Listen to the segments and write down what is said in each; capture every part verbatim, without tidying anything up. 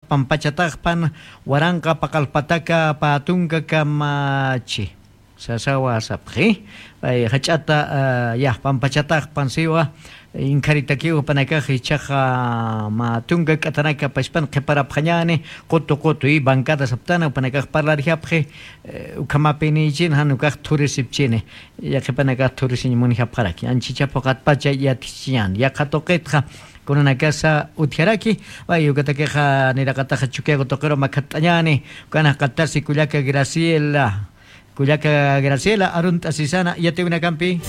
Pampachataxpan waranqa paqalpataka pä tunka kamachi. Sasawa sapxi. Pay jach'ata, ah, ya, pampachataxpan siwa. Inkharitakiw panakax ichaxa mä tunka k'atanaka paspan qhiparapxañani, qutu qutu, y bancada saptana panakax parlarjapxi, eh, ukhamapinïchin, jan ukax thurisipchini. Yaqhipanakax thurisiñ munjapxaraki. Anchicha phuqatpacha yatchiñan. Yaqha tuqitxa kunanakasa utjaraki, way ukatakixa niraqataxa Chukiyago tuqiru makhat'añani, ukan jaqatasi kullaka Graciela, kullaka Graciela, arunt'asisana yatiwinakampi.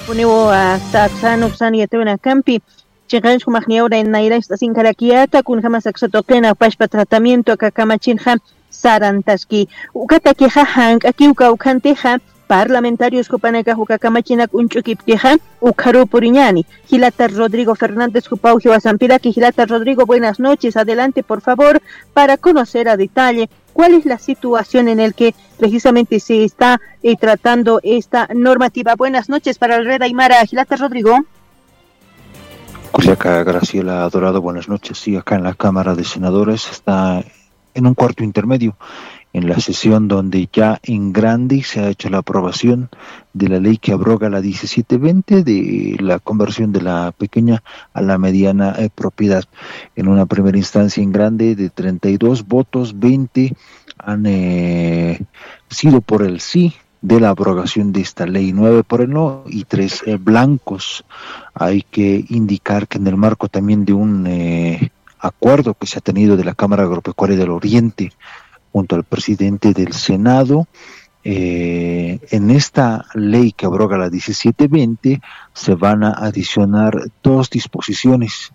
Puniw, ah, saksan uksan yatiwinakampi, chiqanch jumaqniyaw nayrach t'asinkharakiyata, kunjama saksa tuqina pachpa tratamiento aka kamachinxa sarantaski. Ukatakixa jank'akiw kawkhantixa, parlamentarios jupanakax uka kamachinak uñch'ukipkixa, ukharuw puriñani. Jilata Rodrigo Fernández jupaw jiwasampiraki. Jilata Rodrigo, buenas noches. Adelante, por favor, para conocer a detalle cuál es la situación en el que precisamente se está, eh, tratando esta normativa. Buenas noches para el Red Aymara, Jilata Rodrigo. Kullaka Graciela Dorado, buenas noches. Sí, acá en la Cámara de Senadores está en un cuarto intermedio, en la sesión donde ya en grande se ha hecho la aprobación de la ley que abroga la diecisiete veinte de la conversión de la pequeña a la mediana, eh, propiedad. En una primera instancia en grande de treinta y dos votos, veinte han, eh, sido por el sí de la abrogación de esta ley, nueve por el no y tres, eh, blancos. Hay que indicar que en el marco también de un, eh, acuerdo que se ha tenido de la Cámara Agropecuaria del Oriente junto al presidente del Senado, eh, en esta ley que abroga la diecisiete veinte se van a adicionar dos disposiciones,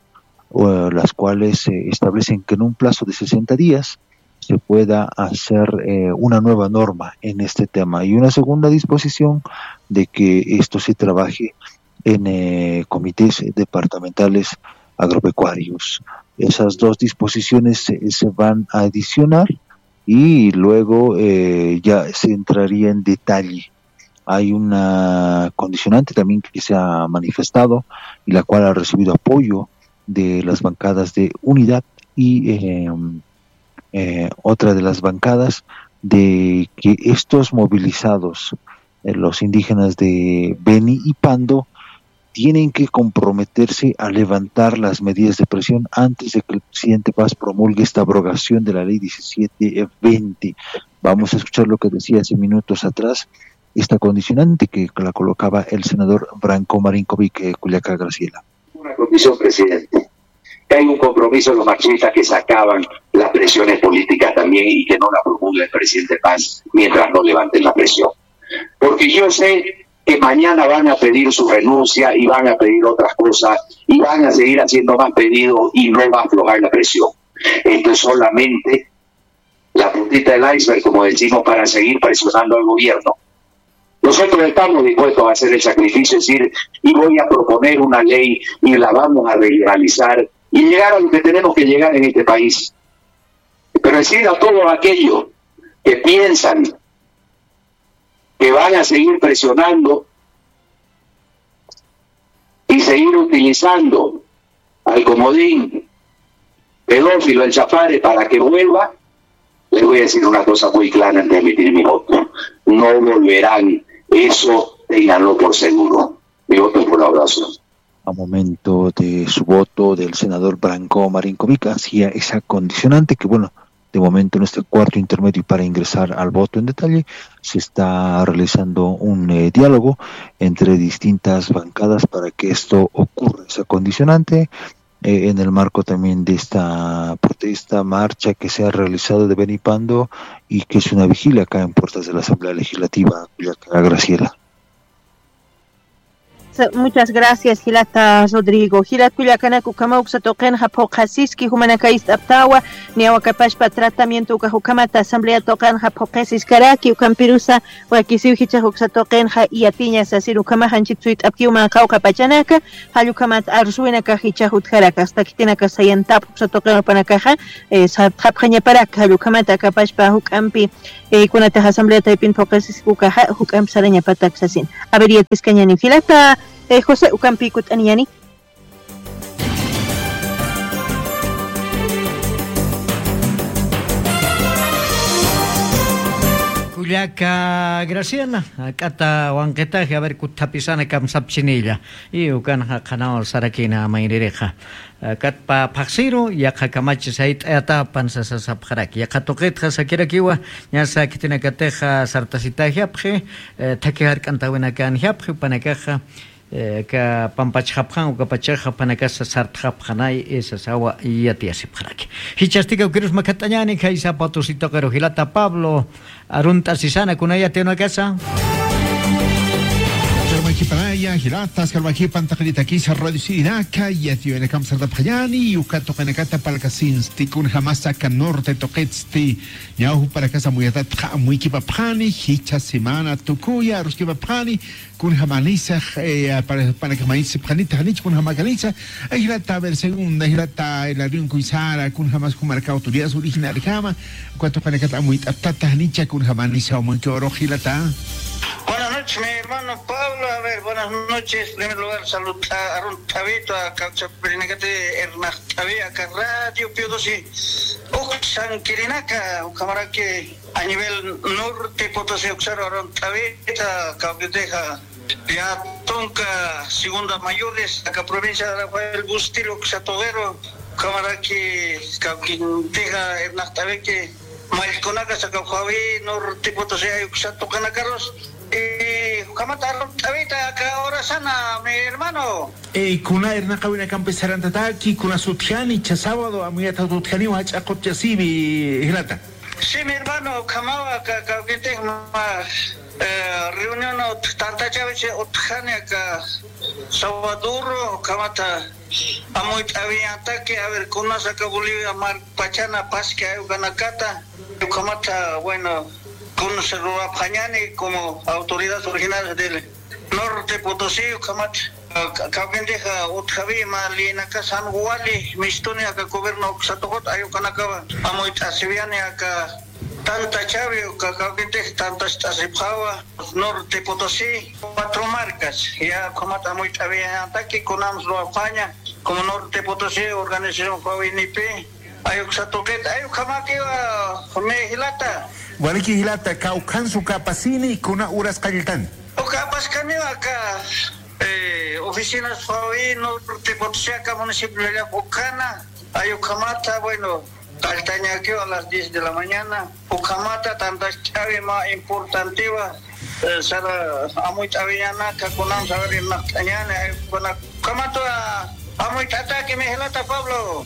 o, las cuales, eh, establecen que en un plazo de sesenta días se pueda hacer, eh, una nueva norma en este tema. Y una segunda disposición de que esto se trabaje en, eh, comités departamentales agropecuarios. Esas dos disposiciones se, se van a adicionar y luego, eh, ya se entraría en detalle. Hay una condicionante también que se ha manifestado y la cual ha recibido apoyo de las bancadas de Unidad y, eh, eh, otra de las bancadas de que estos movilizados, eh, los indígenas de Beni y Pando, tienen que comprometerse a levantar las medidas de presión antes de que el presidente Paz promulgue esta abrogación de la ley diecisiete veinte. Vamos a escuchar lo que decía hace minutos atrás esta condicionante que la colocaba el senador Branko Marinkovic, eh, Kullaka Graciela. Una condición, presidente, que hay un compromiso de los machistas que se acaban las presiones políticas también y que no la promulgue el presidente Paz mientras no levanten la presión. Porque yo sé que mañana van a pedir su renuncia y van a pedir otras cosas y van a seguir haciendo más pedidos y no va a aflojar la presión. Esto es solamente la puntita del iceberg, como decimos, para seguir presionando al gobierno. Nosotros estamos dispuestos a hacer el sacrificio, es decir, y voy a proponer una ley y la vamos a regionalizar y llegar a lo que tenemos que llegar en este país. Pero decir a todos aquellos que piensan que van a seguir presionando y seguir utilizando al comodín pedófilo, el Chapare, para que vuelva, les voy a decir una cosa muy clara antes de emitir mi voto. No volverán. Eso ténganlo por seguro. Mi voto es por la oración. A momento de su voto del senador Branko Marinkovic hacía esa condicionante que, bueno, de momento en este cuarto intermedio y para ingresar al voto en detalle, se está realizando un, eh, diálogo entre distintas bancadas para que esto ocurra, esa condicionante. Eh, en el marco también de esta protesta, marcha que se ha realizado de Beni Pando y que es una vigilia acá en puertas de la Asamblea Legislativa, Kullaka Graciela. Muchas gracias, jilata Rodrigo. Jilat kullakanak, ukhamaw uksa tuqinxa phuqhasiski jumanaka ist'aptawa, niyaw akapachpa tratamiento ukax ukhamata asamblea tuqinxa phuqhisiskaraki, ukhampirusa wakisiw jichhax uksa tuqinxa yatiña sasir ukhamax anchhit suyt'apkiw mä qawqha pachanaka, jall ukhamat arsuwinakax jichhax utjaraki, hasta khitinaka sayantap uksa tuqin jupanakaxa, eh, sartxapxañaparaki, jall ukhamata akapachpa juk'ampi, eh, kunatix asamblea taypin phuqhisisku ukaxa, juk'amp sarañapatak sasin. A ver, yatiskañäni jilata, eh, José, ukampi kutt'aniñäni. Kullaka Graciela, akata wanqitaji, a ver, kutthapisana kamsapchinilla. Y ukanxa qhanaw sarakina mayririxa. Akatpa phaxsiru, yaqha kamachi sayt'ayatapan sasasapxaraki. Yaqha tuqitxa sakirakiwa, ñasa khitinakatixa sartasitäjapxi, eh, thakhi jark'antawinakanjapxi, jupanakaxa, eh, aka pampachxapxan, ukapachaxa jupanakasa sartxapxanay, sasawa yatiyasipxaraki. Jichhasti kawkirus makhatt'añäni, khaysa Potosí tuqiru jilata Pablo, arunt'asisana kuna yatiyunakasa. Sarmakipanaya, jilata, sarmakipan taqinitakisa radio sirinaka, yatiyunakamp sartapxañäni, uka tuqinakata parlkasinsti, kunjamasa aka norte tuqitsti, ñaw jupanakasa amuyatatxa amuykipapxani, jichha semana tukuya aruskipapxani, kunjamanisax, eh, para, para que mañit sipxanita, janich kunjamakanisa, ay, jilata, a ver, segunda, jilata, Hilarión Kuysara, kunjamas jumaraka autoridades originariojama, uka tuqinakata amuyt'aptata, janicha kunjamanisa, amuykirux jilata. Buenas noches, mi hermano Pablo. A ver, buenas noches. En primer lugar, salud, a, arun t'awito, a, kawsapirinakati, Hernán T'awi, aka Radio Pío doce. Uksan kirinaka, ukhamaraki, a nivel norte Potosí, uksaru arun t'awita, kawkitixa, ya tunka segunda mayores, aka provincia de Rafael Bustillo, uksa tuqiru, ukhamaraki, kawkintixa, Hernán T'awiki, mallkunaka saka Huawi, norte Potosí, ay uksa tuqinakarus, y ukhamat arun t'awita, aka horasana, mi hermano. Eh, kuna irnaqawinakampi sarantataki, kuna sutjani, jichha sábado, amuyata utjaniwa, jach'a qutchasiwi, jilata. Sí, mi hermano, ukhamawa, ka-, kawkintix, ma-, eh, reunión ut-, tantachawi utjani, aka sábado, ukhamata, amuyt'awiñataki, a ver, kunasa aka Bolivia mar pachana paski ay ukanakata, ukhamata, bueno, kunsa ruwapxañäni como autoridades originarias del Norte Potosí, ukhamat, ah, ka-, kawkintixa, ah, utjawi mä leynakas jan wali mistuni aka gobierno uksa tuqit ay ukanakawa amuyt'asiwiñäni aka tantachawi, uka kawkintix tantacht'asipxawa Norte Potosí, cuatro marcas, ya ukhamat amuyt'awiñataki kunams ruwapxaña, como Norte Potosí, organización Huawei Nipi, ay uksa tuqit, ay ukhamakiwa, me jilata. Waliki jilata, kawkhansa uka apasini, kuna horas qalltan. Uka apaskaniwa aka, eh, oficinas Huawei Norte Potosí aka municipio Llallap ukhana, ay ukhamata, bueno, qalltañakiwa a las diez de la mañana, ukhamata tantacht'awi mä importantiwa, eh, sara amuyt'awiñanaka kunam saber irnaqt'añäni, ay, kuna, ukhamata amuyt'ataki, mi jilata Pablo.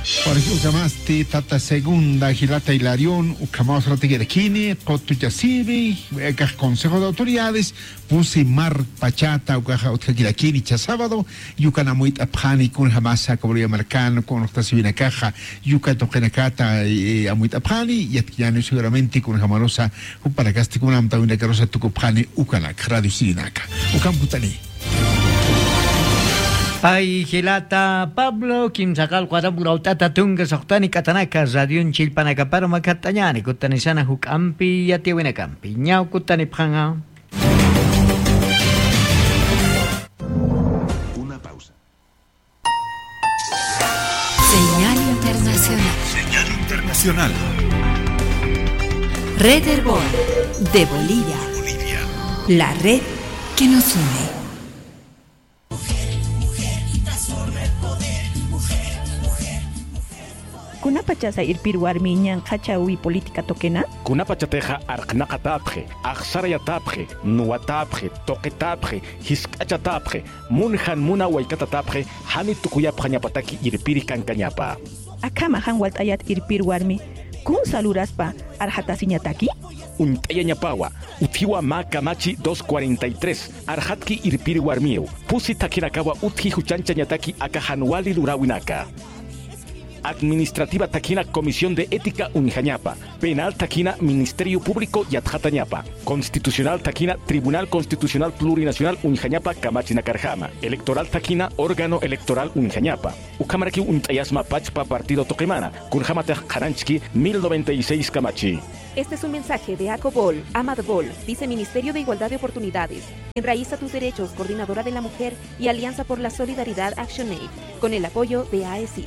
Jorge, ukhamasti tata segunda, jilata Hilarión, ukhamaw saratakirakini, qutuchasiwi, ukax Consejo de Autoridades, pusi mar pachata, ukaxa utjakirakini jichha sábado, y ukan amuyt'apxani, kunjamasa, como markan, kunxtasiwinakaxa, y uka tuqinakata, eh, amuyt'apxani, yatkiñäni seguramente, kunjamarusa, jupanakasti kuna amtawinakarusa tukupxani ukanak, radio sirinaka. Ukham kutani. Ay, jilata Pablo, kimsa qallqu aram urawt'ata tunka suxtani k'atanaka, radion chillpanakaparu makhatt'añäni, kutanisana juk'ampi yatiyawinakampi. Ñaw kutanipxaña. Una pausa. Señal internacional. Señal internacional. Red Erbol, de Bolivia. Bolivia. La red que nos une. Kunapachasa irpir warmi ñanqhachawi política tuqina? Kunapachatixa arqnaqatäpxi, axsarayatäpxi, nuwatäpxi, tuqitäpxi, jisk'achatäpxi, munjan muna waykatatapxi, jani tukuyapxañapataki irpiri kankañapa. Akhama jan walt'ayat irpir warmi, kunsa luraspa arxatasiñataki? Uñt'ayañapawa, utjiwa mä kamachi dos cuarenta y tres, arxatki irpir warmiw, pusi thakhinakawa utji juchañchañataki aka jan wali luräwinaka. Administrativa thakhina Comisión de Ética uñjañapa, penal thakhina Ministerio Público yatxatañapa, constitucional thakhina Tribunal Constitucional Plurinacional uñjañapa kamachinakarjama, electoral thakhina órgano electoral uñjañapa. Ukhamarakiw uñt'ayasma pachpa partido tuqimana, kunjämatix qhananchki mil noventa y seis kamachi. Este es un mensaje de ACOBOL, AMADBOL, Viceministerio de Igualdad de Oportunidades, Enraiza tus Derechos, Coordinadora de la Mujer y Alianza por la Solidaridad ActionAid, con el apoyo de AECID.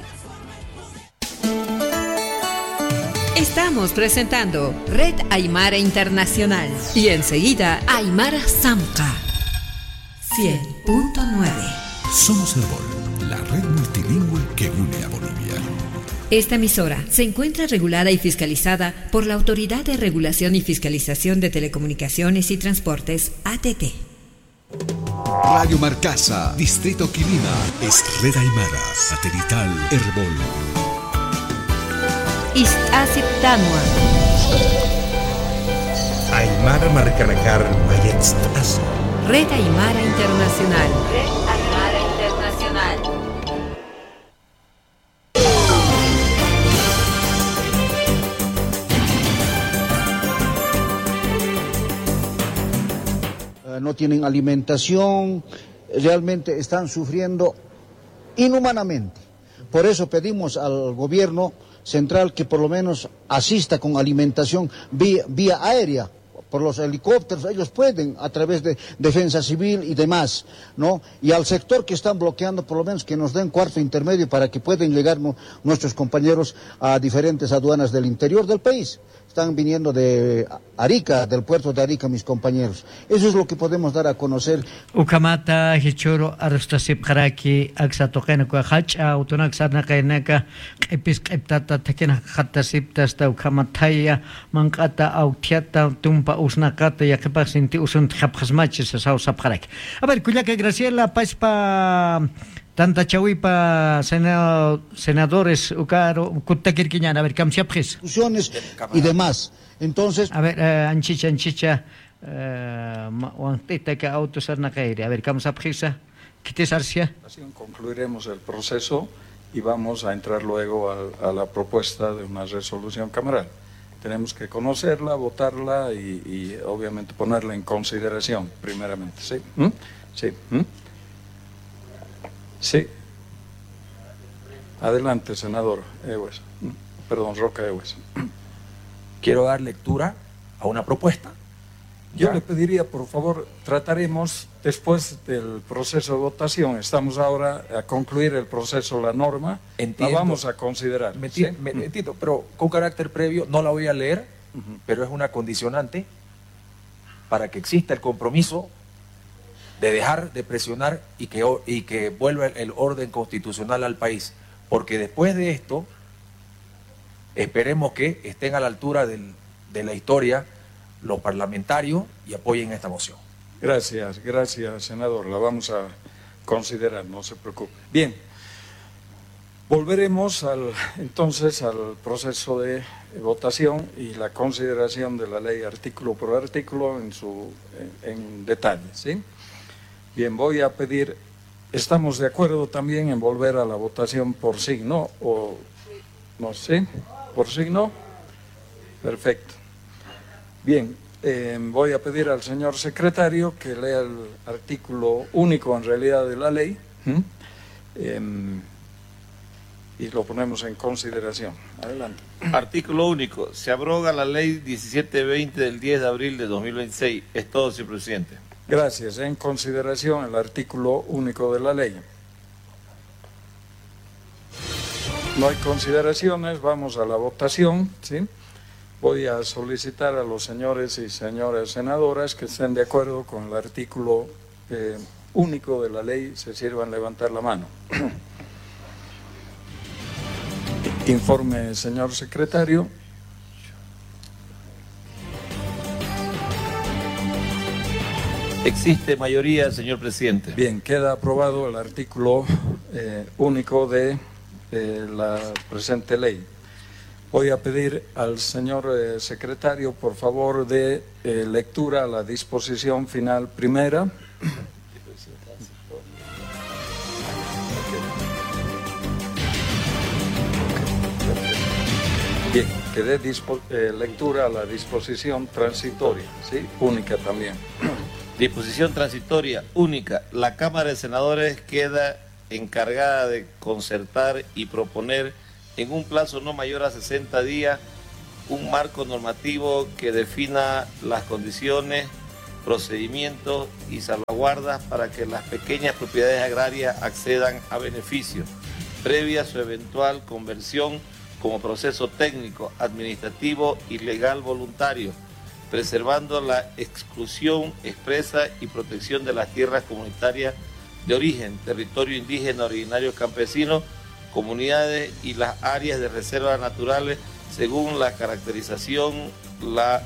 Estamos presentando Red Aymara Internacional y enseguida Aymara Samqa cien punto nueve. Somos Erbol, la red multilingüe que une a Bolivia. Esta emisora se encuentra regulada y fiscalizada por la Autoridad de Regulación y Fiscalización de Telecomunicaciones y Transportes, A T T. Radio Marcasa, Distrito Quilima, es Red Aymara, satelital Erbol. Ist'asiptanwa. Aymara markanakar mayatst'asa. Red Aymara Internacional. Red Aymara Internacional. Eh, no tienen alimentación, realmente están sufriendo inhumanamente. Por eso pedimos al gobierno central que por lo menos asista con alimentación vía, vía aérea, por los helicópteros, ellos pueden a través de defensa civil y demás, ¿no? Y al sector que están bloqueando, por lo menos que nos den cuarto intermedio para que puedan llegar nu-, nuestros compañeros a diferentes aduanas del interior del país. Están viniendo de Arica, del puerto de Arica, mis compañeros. Eso es lo que podemos dar a conocer. Ukhamata jichhüru arsustasipxaraki aksa tuqina uka jach'a awtunak sarnaqaynaka q'ipis q'iptata thakhinakxatasiptasta ukhamathaya manq'ata awthiata tumpa usnaqata yaqhipax sinti usuntxapxasmachi sasaw sapxaraki. A ver, kullaka Graciela, pachpa tantachawipa sena-, senadores ukaru kuttakirkiñäni, a ver, kamsapxisa. Discusiones y demás. Entonces, a ver, eh, anchicha, anchicha, eh, ma-, wanq't'ita aka awtu sarnaqayri. A ver, kamsapxisa, khitis arsiya. Concluiremos el proceso y vamos a entrar luego al, a la propuesta de una resolución cameral. Tenemos que conocerla, votarla y, y obviamente ponerla en consideración, primeramente, ¿sí? ¿Mm? Sí. ¿Mm? Sí. Adelante, senador Ewes. Mm, perdón, Roca Ewes. Quiero dar lectura a una propuesta. Yo le pediría, por favor, trataremos después del proceso de votación. Estamos ahora a concluir el proceso, la norma. La vamos a considerar, ¿sí? Entiendo, pero con carácter previo no la voy a leer, pero es una condicionante para que exista el compromiso de dejar de presionar y que o-, y que vuelva el, el orden constitucional al país. Porque después de esto, esperemos que estén a la altura del, de la historia los parlamentarios y apoyen esta moción. Gracias, gracias, senador. La vamos a considerar, no se preocupe. Bien. Volveremos al, entonces al proceso de votación y la consideración de la ley artículo por artículo en su, en, en detalle, ¿sí? Bien, voy a pedir, ¿estamos de acuerdo también en volver a la votación por signo o no sé? ¿Por signo? Perfecto. Bien, eh, voy a pedir al señor secretario que lea el artículo único en realidad de la ley, ¿m? Em, y lo ponemos en consideración. Adelante. Artículo único. Se abroga la ley diecisiete veinte del diez de abril de dos mil veintiséis. Es todo, señor presidente. Gracias. En consideración el artículo único de la ley. No hay consideraciones, vamos a la votación, ¿sí? Voy a solicitar a los señores y señoras senadoras que estén de acuerdo con el artículo, eh, único de la ley, se sirvan levantar la mano. Informe, señor secretario. Existe mayoría, señor presidente. Bien, queda aprobado el artículo, eh, único de, eh, la presente ley. Voy a pedir al señor eh, secretario, por favor, de eh, lectura a la disposición final primera. Bien, que dé dispo- eh, lectura a la disposición transitoria, ¿sí? Única también. Disposición transitoria única. La Cámara de Senadores queda encargada de concertar y proponer en un plazo no mayor a sesenta días un marco normativo que defina las condiciones, procedimientos y salvaguardas para que las pequeñas propiedades agrarias accedan a beneficios, previa su eventual conversión como proceso técnico, administrativo y legal voluntario, preservando la exclusión expresa y protección de las tierras comunitarias de origen, territorio indígena originario campesino, comunidades y las áreas de reserva naturales según la caracterización la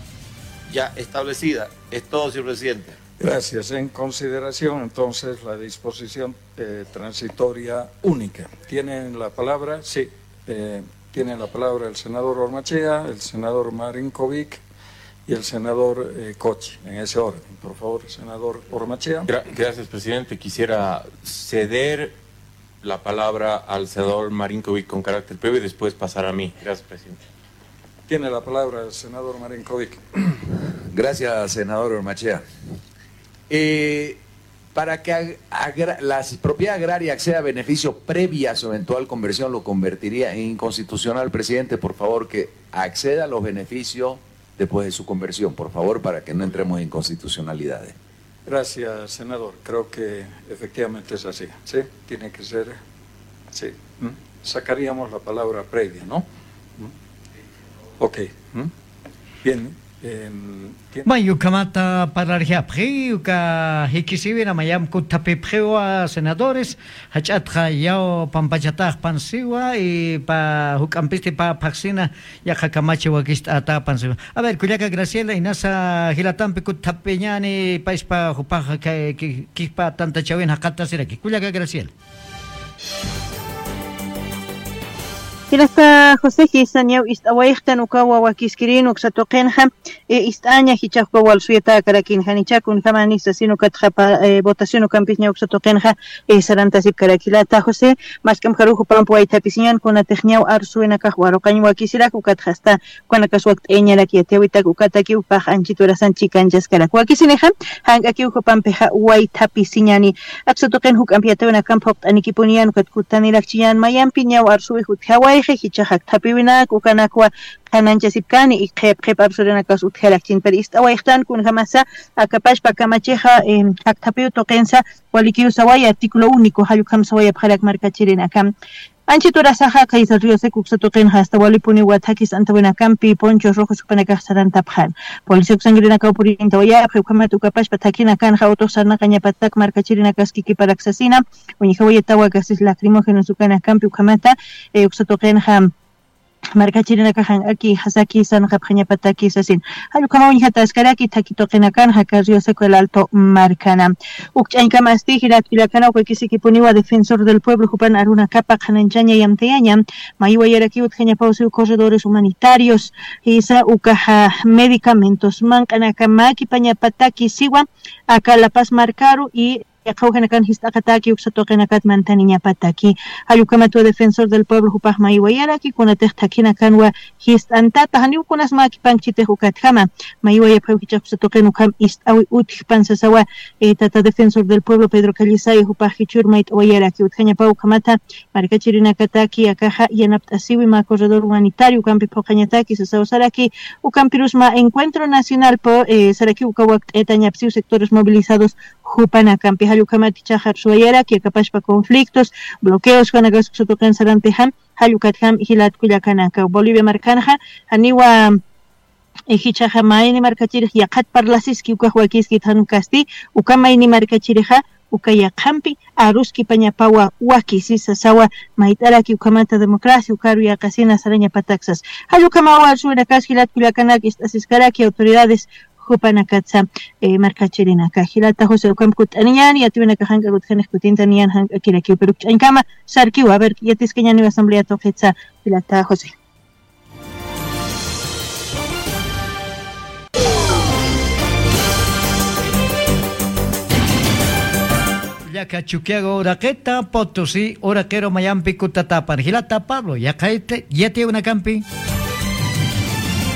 ya establecida. Es todo, señor presidente. Gracias. En consideración, entonces, la disposición eh, transitoria única. Tienen la palabra, sí, eh, tiene la palabra el senador Ormachea, el senador Marinkovic y el senador eh, Cochi, en ese orden. Por favor, senador Ormachea. Gra- gracias, presidente. Quisiera ceder la palabra al senador Marinkovic con carácter previo y después pasar a mí. Gracias, presidente. Tiene la palabra el senador Marinkovic. Gracias, senador Ormachea. Eh, para que ag- agra- la propiedad agraria acceda a beneficio previa a su eventual conversión, lo convertiría en inconstitucional, presidente. Por favor, que acceda a los beneficios después de su conversión, por favor, para que no entremos en inconstitucionalidades. Gracias, senador. Creo que efectivamente es así. Sí, tiene que ser. Sí. ¿Mm? Sacaríamos la palabra previa, ¿no? ¿Mm? Ok. ¿Mm? Bien. Em, tiene- May ukhamata parlarjapxi, uka jikisiwina mayam kuthapipxiwa senadores, jach'atxa yaw pampachatax pansiwa, y pa juk'ampisti pa phaxsina yaqha kamachi wakist'ata pansiwa. A ver, kullaka Graciela, inasa jilatampi kuthapiñani, paispa jupax ka- ki- kispa tantachawin jaqatasiraki. Kullaka Graciela. Jilata José, jisa ñaw ist'awayxtan ukawa wakiskirin uksa tuqinxa, eh, ist'aña jichha ukawa walsuyata karakin janicha kunjamani sasin ukatxa pa, eh, votación ukampis ñaw uksa tuqinxa, eh, sarantasipkarak. Jilata José, mask'amjaru jupamp waythapisiñan kunatix ñaw arsuwinakax waruqañ wakisirak ukatxa asta ukanakas wakt'ayañarak yatiyawitak ukataki upax anchit urasan chikanchaskarak. Wakisinixa, jank'akiw jupampixa waythapisiñani. Aksa tuqin juk'amp yatiwinakamp juqt'anikipuniyan ukat kutanirakchiñan mayampi ñaw arsuwix utjawayxi, jichhax akthapiwinak ukanakwa qhanañchasipkani, y qhip qhip arsurinakas utjarakchin. Pero ist'awayxtan kunjamasa, akapachpa kamachixa, em, akthapiw tuqinsa, walikiw saway artículo único, jall ukham sawayapxarak markachirinakam. Anchit urasaxa Kaiser Río Seco uksa tuqinxa asta walipuniwa thakis antawinakampi ponchos rojos jupanakax sarantapxan. Policía uksankirinakaw purintawayapxi, ukhamat ukapachpa thakinakanxa autox sarnaqañapatak markachirinakaskiki parak sasina, uñjawayatawa gases lacrimógenos ukanakampi ukhamata, eh, uksa tuqinxa markachirinakaxan aki jasaki sarnaqapxañapataki sasin. Jall ukhama uñjataskaraki thaki tuqinakanxa Kaiser Río Seco El Alto markana. Ukch'añkamasti jilat kullakana ukakisikipuniwa Defensor del Pueblo jupan arunakapa qhanañchaña yamtayaña, maywayaraki utjañapaw siw corredores humanitarios, jisa ukaxa medicamentos manq'anaka makipañapataki siwa aka La Paz markaru, y yaqhawjanakan jist'aqataki uksa tuqinakat mantaniñapataki. Jall ukhamatwa Defensor del Pueblo jupax maywayaraki kunatix thakhinakanwa jist'antata, janiw kunas makipankchitix ukatjama. Maywayapxiw jichhax uksa tuqin ukham ist'awi utjpan sasawa, eh, tata Defensor del Pueblo Pedro Callisaya jupax jichhür mayt'awayaraki utjañapaw ukhamata markachirinakataki akaxa yanapt'asiwi mä corredor humanitario ukampi phuqañataki sasaw saraki, ukampirus mä encuentro nacional po, eh, saraki uka wakt'ayatañapsiw sectores movilizados jupanakampi. Jall ukhamat jichhax arsuwayaraki akapachpa conflictos, bloqueos jupanakax uksa tuqin sarantixa, jall ukatjam jilat kullakanaka Bolivia markanxa, janiwa, eh, jichhaxa mayni markachirix yaqhat parlasiski ukax wakiskit jan ukasti, uka mayni markachirixa uka yaqhampi aruskipañapawa wakisi sasawa, mayt'araki ukhamata democracia ukaru yaqasina sarañapatak sas. Jall ukhamawa arsuwinakas jilat kullakanak ist'asiskaraki autoridades jupanakatsa, eh, markachirinaka. Jilata José, ukham kutt'aniñani, yatiwinakax jank'ak utjanix kutintaniñan jank'akirakiw, pero ukch'añkama sarkiwa, a ver, yatiskañaniw asamblea tuqitsa, jilata José. Aka Chukiyawu uraqita, Potosí uraqiru mayampi kutatapan. Jilata Pablo, yaqhayta, yatiyawinakampi.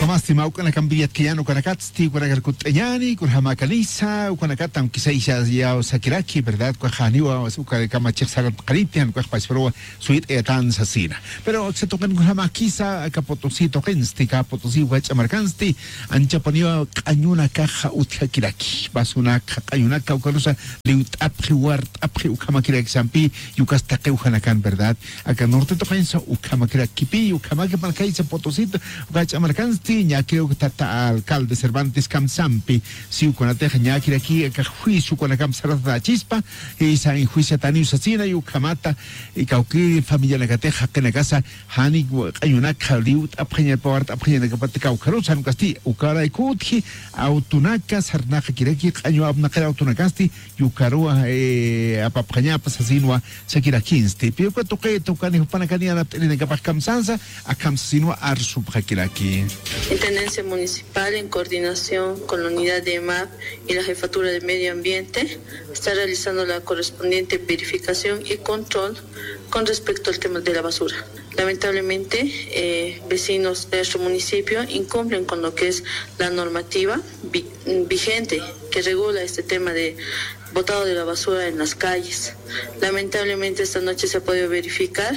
Kamasti mawk'anakampi yatkayan ukanakatsti, ukanakar kutt'añani, kunjama kanisa, ukanakata, aunque sea ya, ya sakiraki, ¿verdad? Ukax janiwa, uka kamachix sarat qaripian, ukax pasparuwa, suyt'ayatan sasina. Pero aksa tuqin kunjamakisa, aka Potosí tuqinsti, aka Potosí wach'a markansti, anchapuniwa q'añunakaxa utjakiraki, basunaka, q'añunaka, ukarusa liwt'apxi, wart'apxi, ukhamakirak sampi, yukas taqi ujanakan, ¿verdad? Aka norte tuqinsa, ukhamakirakipi, ukhamaki markaysa Potosito, uka wach'a markansti, ñakiriw tata alcalde Cervantes kamsampi, si ukunatix ñakiraki, aka juicio ukanakamp saratatachispa, y sa juiciatani sasina, y ukhamata, y kawki familianakatix jaqinakasa, jani q'añunaka liwt'apxañapa, wart'apxañanakapat kawkharus, jan ukasti, ukaraykutji, autonaka, sarnaqakiraki, q'añu apnaqir autonakasti, yukaruwa, eh, apapxañapa sasinwa sakirakinsti. Pero uka tuqita, ukani jupanakani yanapt'irinakapax kamsansa, akham sasinwa arsupxakiraki. Intendencia Municipal, en coordinación con la Unidad de EMAP y la Jefatura de Medio Ambiente, está realizando la correspondiente verificación y control con respecto al tema de la basura. Lamentablemente, eh, vecinos de nuestro municipio incumplen con lo que es la normativa vi-, vigente que regula este tema de botado de la basura en las calles. Lamentablemente, esta noche se ha podido verificar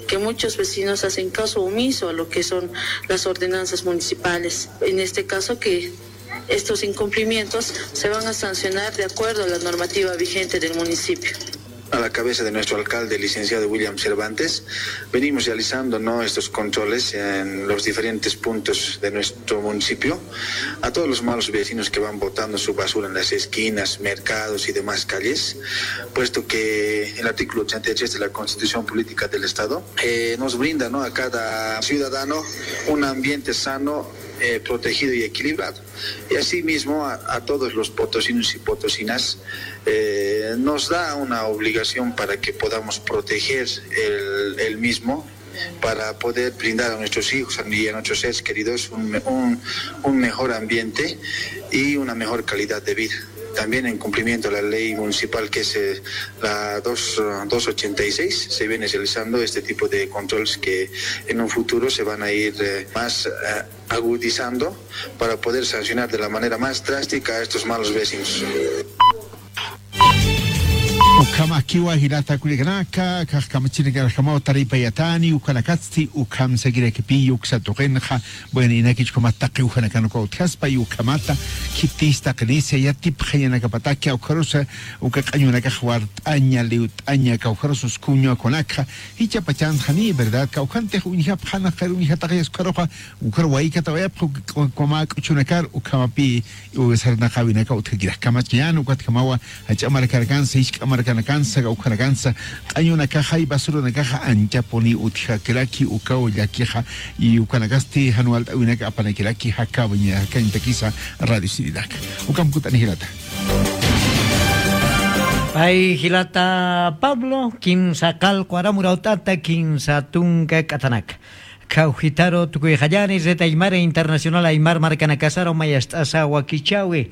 que muchos vecinos hacen caso omiso a lo que son las ordenanzas municipales. En este caso, que estos incumplimientos se van a sancionar de acuerdo a la normativa vigente del municipio. A la cabeza de nuestro alcalde, licenciado William Cervantes, venimos realizando, ¿no?, estos controles en los diferentes puntos de nuestro municipio, a todos los malos vecinos que van botando su basura en las esquinas, mercados y demás calles, puesto que el artículo ochenta y tres de la Constitución Política del Estado, eh, nos brinda, ¿no?, a cada ciudadano un ambiente sano, eh, protegido y equilibrado. Y asimismo a, a todos los potosinos y potosinas, eh, nos da una obligación para que podamos proteger el, el mismo, para poder brindar a nuestros hijos y a nuestros seres queridos un me-, un, un mejor ambiente y una mejor calidad de vida. También en cumplimiento a la ley municipal, que es, eh, la dos, eh, dos ochenta y seis, se viene realizando este tipo de controles que en un futuro se van a ir, eh, más, eh, agudizando para poder sancionar de la manera más drástica a estos malos vecinos. Ukhamakiwa jilata kullakanaka, kax kamachinakarjamaw taripayatani, ukanakatsti, ukham sakirakipi, uksa tuqinxa, bueno, inakich ukhamat taqi ujanakan uka utjaspa, y ukhamata, khitista qinisa, yatipxañanakapataki, ukharusa, uka q'añunakax wart'aña, liwt'aña, kawkharus uskuña kunakxa, jichha pachanxani, ¿verdad? Kawkhantix uñjapxana, qir uñjataxayas ukharuxa, ukhar waykatawayapxi, uka, uka mä k'uchunakar, ukhamapi, u sarnaqäwinaka utjakirak. Kamachkayän, ukatjamawa, jach'a markanakansa, jisk'a markanakansa, kawkhanakansa, q'añunakaxa, basuranakaxa, anchapuni utjakiraki, ukaw llakixa, y ukanakasti, jan walt'äwinaka apanakiraki, jakawaña, jakañatakisa, radio siniraka. Ukham kut'ani jilata. Pay jilata Pablo, kimsa qallqu aram urawt'ata, kimsa tunka k'atanak. Khawjitaru tukuyxallani, Red Aymara Internacional Aymar markanakasaru mayast'asa wakichäwi.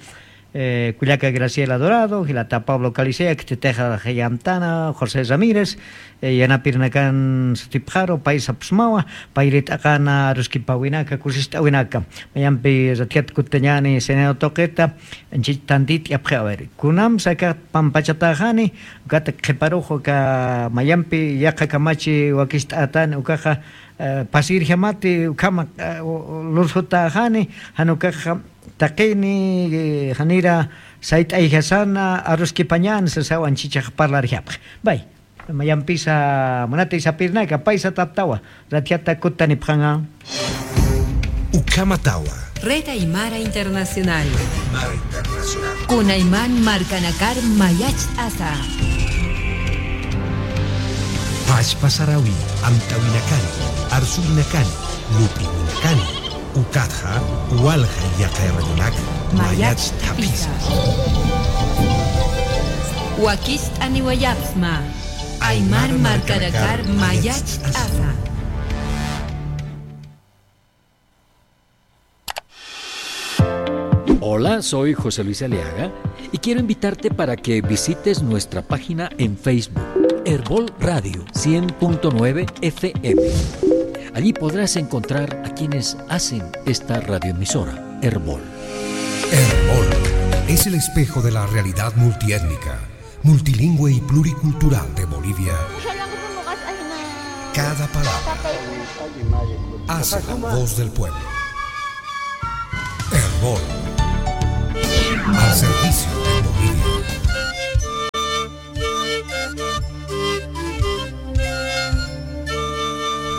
Eh, kullaka Graciela Dorado, jilata Pablo Caliceac, titixa yamtana, José Ramírez, eh, yanapirinakan sutipxaru, pay sapxsmawa, pay rit'aqana aruskipawinaka, kusist'awinaka. Mayampi ratjat kutañani, Senado tuqita, anchich tantit'apxi, a ver, kunamsa aka pampachataxani, ukat qhiparux uka mayampi yaqha kamachi wakist'atani, ukaxa, eh, pasirjamati, ukhama, eh, u-, u-, lursutäxani, jan ukaxa taqini, eh, janira sayt'ayjasana, aruskipañäni, sasaw anchichax parlarjapxi. Bay, mayampisa, munati sapirinaka, paysa taptawa, ratjata kutanipxaña. Ukhamatawa. Red Aymara Internacional. Kunayman markanakar mayacht'asa. Pachpa sarawi, amtawinakani, arsuwinakani, lup'iwinakani, ukatxa, walja yaqha radionak mayacht'apisa. Wakicht'aniwayapxsma. Aymar markanakar mayacht'asa. Hola, soy José Luis Aliaga y quiero invitarte para que visites nuestra página en Facebook, Erbol Radio cien punto nueve F M. Allí podrás encontrar a quienes hacen esta radioemisora, Erbol. Erbol es el espejo de la realidad multiétnica, multilingüe y pluricultural de Bolivia. Cada palabra hace la voz del pueblo. Erbol, al servicio de Bolivia.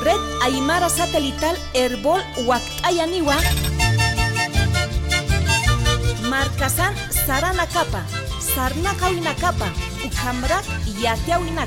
Red Aymara Satelital Erbol wakt'ayaniwa. Markasan saranakapa, sarnaqawinakapa, ukhamrak yatiyawinaka.